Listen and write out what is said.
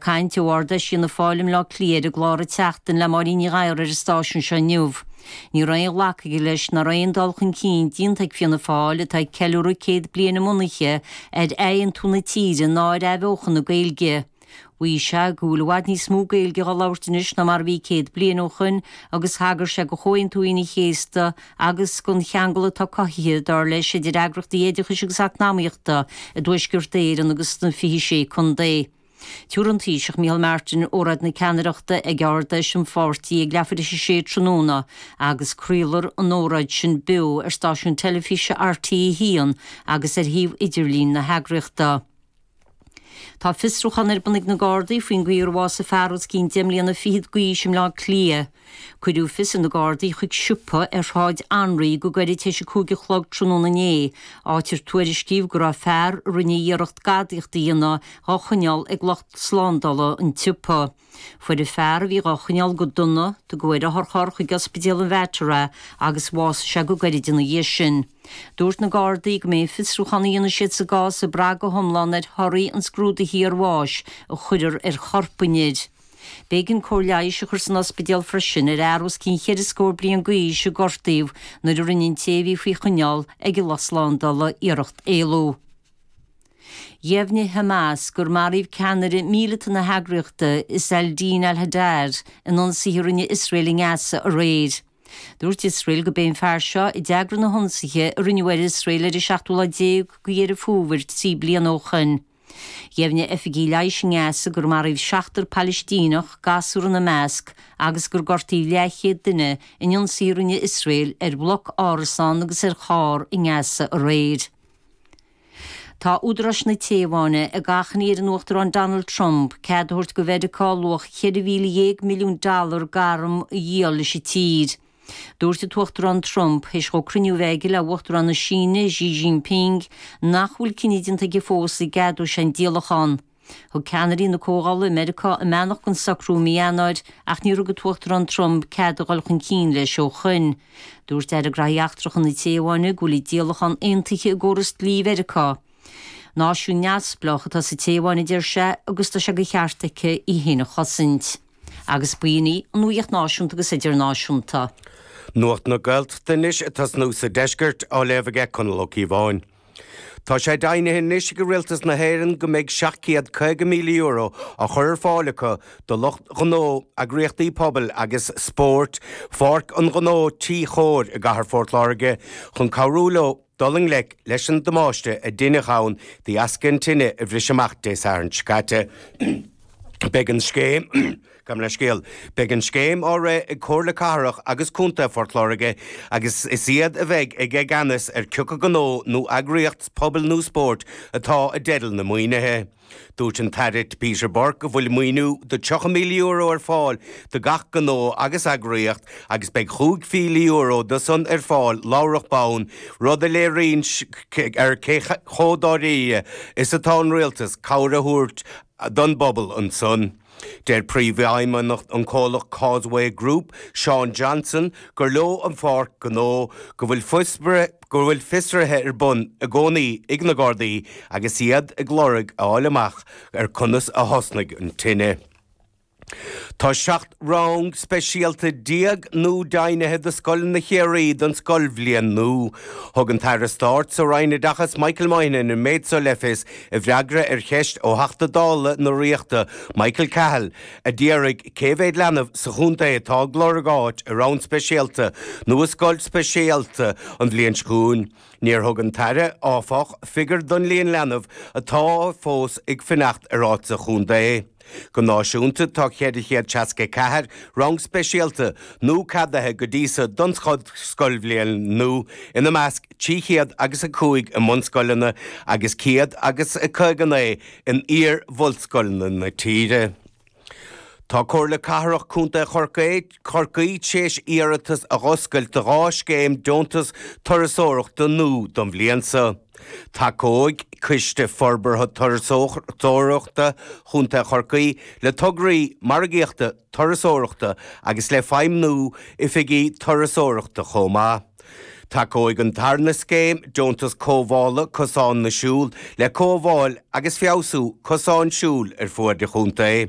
caint ó Ard-Fheis Fhianna Fáil i mBleá Cliath ar an gclár An tSeachtain le Máirín Ní Ghadhra ar an stáisiún seo inniu. Ní raibh aon ghlacadh aige leis nach raibh aon dul chun cinn déanta ag Fianna Fáil, atá ag ceiliúradh 100 bliain a mbunaithe, ar athaontú na tíre ná ar athbheochan na Gaeilge. Mhaígh sé go bhfuil i bhfad níos mó Gaeilge dhá labhairt anois ná mar a bhí 100 bliain ó shoin agus thagair sé go Chomhaontú Aoine an Chéasta agus gon cheangal atá cothaithe, dar leis, idir eagraíochtaí oideachais agus eacnamaíochta i dTuaisceart Éireann agus sna 26 Contae. Tabharfaidh an Taoiseach Micheál Martin óráid na ceannaireachta ag Ard-Fheis an pháirtí ag leathuair théis a sé tráthnóna agus craolfar an óráid sin beo ar stáisiún teilifíse RTÉ 1 agus ar shuíomh idirlín na heagraíochta. Tá fiosrúchán ar bun ag na Gardaí faoin gcaoi ar bhásaigh fear os cionn deich mbliana fichead d'aois i mBleá Cliath. Cuireadh fios ar na Gardaí chuig siopa ar Shráid Anraí go gairid tar éis a 5 a chlog tráthnóna inné, áit ar tuairiscíodh go raibh fear a rinne iarracht gadaíocht a dhéanamh dhá choinneáil ag lucht slándála an tsiopa. Fuaireadh fear a bhí dhá choinneáil go dona, tugadh ar otharcharr chuig Ospidéal an Mhater é agus bhásaigh sé go gairid ina dhiaidh sin. Dúirt na Gardaí go mbeidh an fiosrúchán a dhéanfaidh siad sa gcás ag brath go hiomlán ar thorthaí an scrúdaithe iarbháis a chuirfear ar chorp an fhir. B'éigean cóir leighis a chur san ospidéal freisin ar fhear os cionn cheithre scór bliain d'aois a gortaíodh nuair a rinne an té a bhí faoi choinneáil ag an lucht slándála iarracht éalú. Dheimhnigh Hamas gur maraíodh ceannaire míleata na heagraíochta, Izz al-Din al-Haddad, in ionsaithe a rinne Iosrael i nGaza aréir. Dúirt Iosrael gurb é an fear seo a d'eagraigh na hionsaithe a rinneadh ar Iosrael ar an seachtú lá déag de Dheireadh Fómhair 3 bliana ó shoin. Dheimhnigh oifigigh leighis i nGaza gur maraíodh seachtar Palaistíneach, gasúr ina measc, agus gur gortaíodh leathchéad duine in ionsaithe a rinne Iosrael ar bhloc árasán agus ar charr i nGaza aréir. Tá údaráis na Téaváine ag achainí ar an Uachtarán Donald Trump cead a thabhairt do Mheiriceá luach 14,000 milliún dollar d'arm a dhíol leis an tír. Dúirt an tUachtarán Trump, théis dhó cruinniú a bheith aige le Uachtarán na Síne, Xi Jinping, nach bhfuil cinneadh déanta aige fós an gceadóidh sé an díolachán. Thug ceannairí na Comhdhála i Meiriceá a mbeannacht don socrú i mí Eanáir ach níor thug an tUachtarán Trump cead a dhul chun cinn leis ó shoin. Dúirt Aire Graithí Eachtracha na Téaváine go bhfuil an díolachán aontaithe i gcóras dlí Mheiriceá. Náisiún neamhspleách atá sa Téaváin, a deir sé, agus tá sé de cheart aici í féin a chosaint. Agus b'in í an nuacht náisiúnta agus idirnáisiúnta. Nuacht na Gaeltachta anois ag tosnú sa deisceart, á léamh aige Conall Ó Cíobháin. Tá sé deimhnithe anois ag Rialtas na hÉireann go mbeidh €750,000 á chur ar fáil acu do lucht gnó, eagraíochtaí pobail agus spóirt Pháirc an Ghnó Tí Chóir i gcathair Phort Láirge chun cabhrú leo dul i ngleic leis an damáiste a deineadh ann de dheasca an tine a bhris amach Dé Sathairn seo caite. Beidh an scéim. Gabh mo leithscéal. Beidh an scéim á rith ag Comhairle Cathrach agus Contae Phort Láirge agus is iad a bheidh i gceannas ar cioca gnó nó eagraíocht pobail nó spóirt atá i dteideal na maoinithe. Dúirt an tAire Peter Burke go bhfuil maoiniú de €30,000 ar fáil do gach gnó agus eagraíocht agus beidh €5,000 de san ar fáil láithreach bonn, rud a léiríonn ar cé chomh dáiríre is atá an Rialtas cabhair a thabhairt don bpobal ansan. Deir Príomhfheidhmeannach an comhlacht Causeway Group, Sean Johnson, gur leo an pháirc gnó, go bhfuil go bhfuil fiosruithe ar bun i gcónaí ag na Gardaí agus iad ag lorg a fháil amach ar conas a thosnaigh an tine. Tá 17 rang speisialta nua deimhnithe do scoileanna Chiarraí don scoilbhliain nua. Thug an tAire Stáit sa Roinn Oideachais Michael Moynihan an méid seo le fios i bhfreagra ar cheist ó Theachta Dála na Ríochta Michael Cahill a d'fhiafraigh cé mhéad leanbh sa chontae atá ag lorg áit i rang speisialta nó i scoil speisialta an bhliain seo chugainn. Níor thug an tAire, áfach, figiúr don líon leanbh atá fós ag fanacht ar áit sa chontae. Go náisiúnta tá 464 rang speisialta nua ceadaithe go dtí so don scoilbhliain nua, ina measc 300 agus 5 i mbunscoileanna agus 159 in iar-bhunscoileanna na tíre. Tá Comhairle Cathrach Contae Chorcaí Chorcaí tar éis iarratas a dh'oscailt do dhá scéim deontas turasóireachta nua don bhliain seo. Tacóidh Coiste Forbartha Turasóireachta Chontae Chorcaí le tograí margaíochta turasóireachta agus le feidhmniú oifigí turasóireachta chomh maith. Tacóidh an tarna scéim Deontas Cothabhála Cosán na Siúl le cothabháil agus feabhsú cosán siúil ar fuaid an chontae.